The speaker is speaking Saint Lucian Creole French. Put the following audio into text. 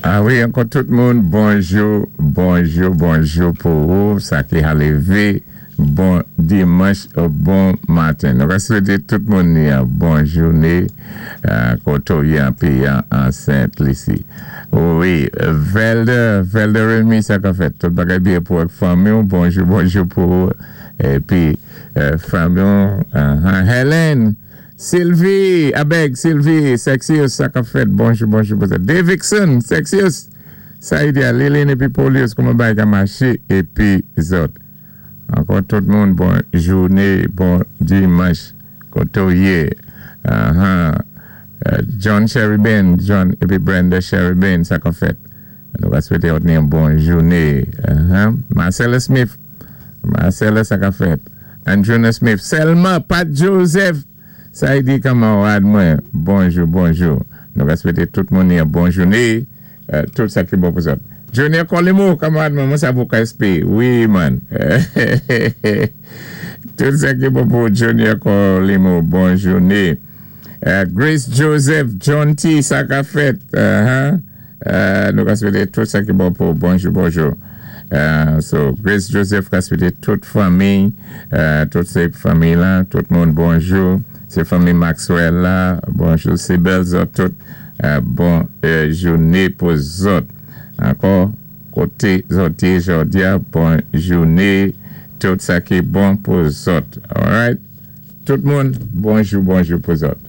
A wi, ankò tout moun, bonjou, bonjou, bonjou pou ou, sa ki a lévé, bon dimanch, bon maten. Nou va swété tout moun ni yon bon jouné, koté ou yé an péyi an Sent Lisi. Wi, Velder, Velder Remy, sa ka fèt. Tout bagay byen pou ak fanmi ou, bonjou, bonjou pou ou. Épi, fanmi ou, Helen, Sylvie, abeg, Sylvie, Sexius, sa ka fèt, bonjou, bonjou pou sa. Davidson, Sexius, Saïdia, Lilin épi Polius, kouman bagay ka maché, épi zòt. Ankò tout moun, bon jouné, bon dimanch, koté ou yé. John Sheribin, John épi Brenda Sheribin, sa ka fèt. Nou va swété ni yon bon jouné. Marcella Smith, Marcella, sa ka fèt. Androna Smith, Selma, Pat Joseph, Saïdi kanmarad mwen, bonjou, bonjou. Nou va swété tout moun yon bon jouné, tout sa ki bon pou zòt. Junior Colimo, kanmarad mwen, mwen sa pou KSP, wi man. Tout sa ki bon pou Junior Colimo, bon jouné. Grace Joseph, John T, sa ka fèt. Nou ka swété tout sa ki bon pou bonjou, bonjou. So, Grace Joseph ka swété tout fanmi, tout sé fanmi la, tout moun bonjou. Sé fanmi Maxwell la, bonjou. Sé bèl zòt tout, bon jouné pou zòt. Ankò, koté zòt yé jòdi a, bon jouné, tout sa ki bon pou zòt. Alright? Tout moun, bonjou, bonjou pou zòt.